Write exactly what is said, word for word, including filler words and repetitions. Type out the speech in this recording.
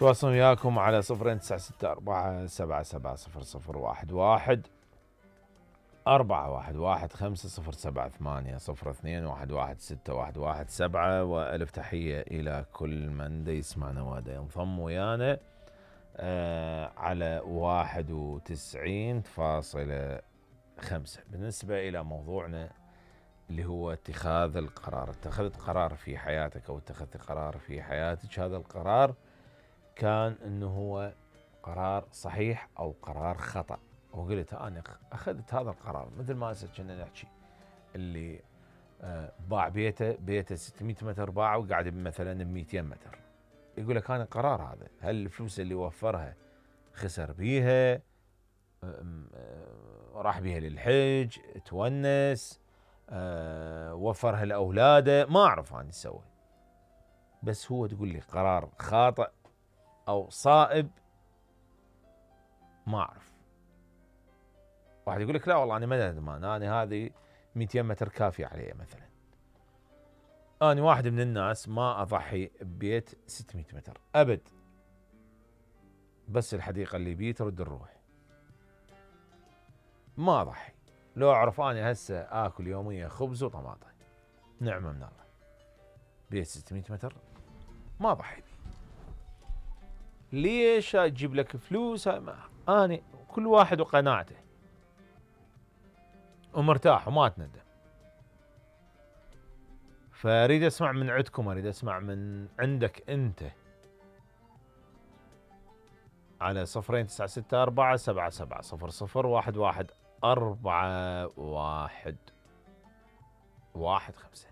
تواصل وياكم على صفرين تسعة ستة أربعة سبعة سبعة صفر صفر واحد واحد أربعة واحد واحد خمسة صفر سبعة ثمانية صفر اثنين واحد واحد ستة واحد واحد سبعة. وألف تحية إلى كل من دا يسمعنا ودا ينضم ويانا آه على واحد وتسعين فاصلة خمسة. بالنسبة إلى موضوعنا اللي هو اتخاذ القرار، اتخذت قرار في حياتك أو اتخذت قرار في حياتك، هذا القرار كان انه هو قرار صحيح او قرار خطأ، وقلت انا اخذت هذا القرار. مثل ما هسه كنا نحكي اللي آه باع بيته بيته ستمئة متر باعه وقاعد مثلا ب مئتين متر، يقول لك انا قرار هذا، هل الفلوس اللي وفرها خسر بيها، آه راح بيها للحج، تونس، آه وفرها لاولاده، ما اعرف انا سوى، بس هو تقول لي قرار خاطئ او صائب ما اعرف. واحد يقول لك لا والله انا ما ندمان، انا هذه مئتين متر كافي علي مثلا. انا واحد من الناس ما اضحي ببيت ستمئة متر ابد، بس الحديقه اللي بيه ترد الروح، ما اضحي. لو اعرف انا هسه اكل يوميا خبز وطماطم نعمه من الله، بيت ستمئة متر ما اضحي بيه. ليش اجيب لك فلوس؟ انا كل واحد وقناعته ومرتاح وما اتندم. فاريد اسمع من عندكم، اريد اسمع من عندك انت على صفرين تسعة ستة أربعة سبعة سبعة صفر صفر واحد واحد أربعة واحد واحد خمسة.